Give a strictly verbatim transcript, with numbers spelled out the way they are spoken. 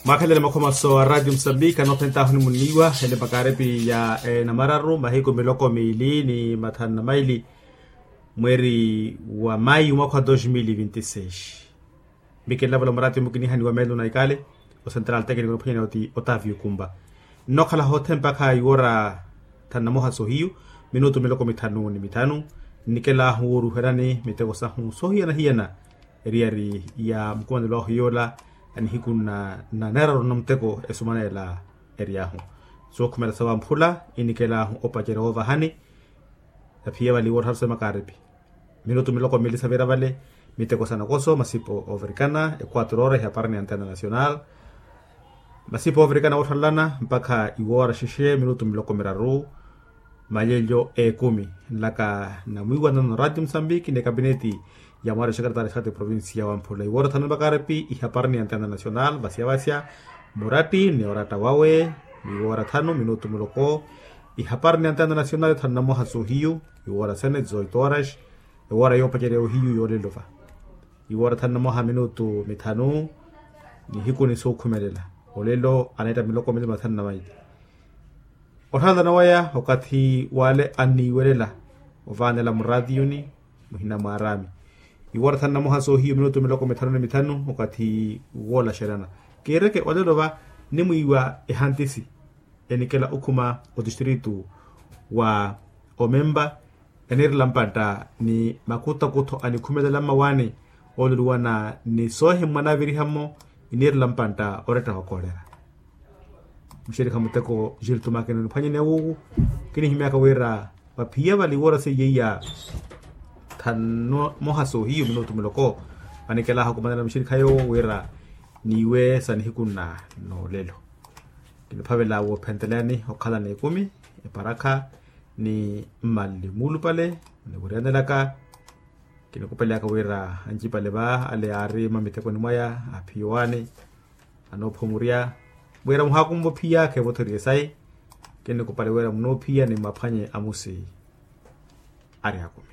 Mwakhelele makhomaso a ratio musambika anoophentahu nimunniiwa ele makaarepi ya enamararu mahiku miloko miili ni mathanu na maili, mweeri wa mayu mwakha wa dos mil vinti seis. Mikilavula muraati omukinihaniwa meelo na ikale, o central tekniko niphwanyana oti otavio kumba. Nnookhala hothe mpakha iwora thanu na moha sohiyu, minutu miloko mithanu ni mithanu. Nnikelahu wooruherani miteko sahu sohiyana-hiyana, eriyari ya mukumanelo ahu yoola, anihiku na neeraru na muteko esumanela. Eri ahu sookhumela sawamphula, inikelahu opacerya woovahani. Aphiya vali woottharu sa makaaripi, minutu miloko miili savira vale. Miteko sa nakoso masipo ovirikana equatro ora ihaparani ya antena nacional. Masipo ovirikana wootthalana mpakha iwoora xexe minutu miloko miraru, malelyo ekumi. Nlaka namwiiwanano ratio musambiki ni ekapineti ya mwaari wa xekaretari xati provincia wamphula iwoora thanu makaaripi ihaparani ya antena nacional vasya-vasya. Muratti ni oratta wawe, iwoora thanu minutu miloko. Ihaparani ya antena nacional thanu na moha sohiyu, iwoora sene zoitoras. Ewoora yoopacerya ohiyu yoolelo va, iwoora thanu na moha minutu mithanu. Nihiku ni sookhumelela olelo aneetta miloko mili mathanu na maili. Otthanlana waya okathi wale anniiwelela ovaanela muratiyuni muhina mwaarami. Iwoora thanu na moha soohiyu minutu miloko mithanu ni mithanu okathi woolaxerana. Kiireke olelo va nimwiiwa ehantisi enikela okhuma otistritu wa omempa, eniirela mpantta ni makutakutho anikhumelela mmawaani ooluluwana ni soohimmwa naaviriha-mo. Iniirela mpantta oretta wa kolera. Muxerikha muteko jiltumakeni oniphwanyeni awuuku. Kinihimyaka wira vaphiya vali woora seiye iya thanu moha soohiyu minutu miloko. Vanikelaha okumanela muxerikha yoowo wira niiwe sa nihiku nna noolelo. Kiniphavela woophentelyani okhala n'ekumi, eparakha ni mmalli muulupale. Niwiriyanelaka kinikupeleyaka wira ancipale va ale aari mamitekoni mwaya aphiya owaani anoophumurya wira muhaakumva ophiya kheevothoriye sayi. Kinikupale wira munoophiya ni mmaphwanye amusi ari akumi.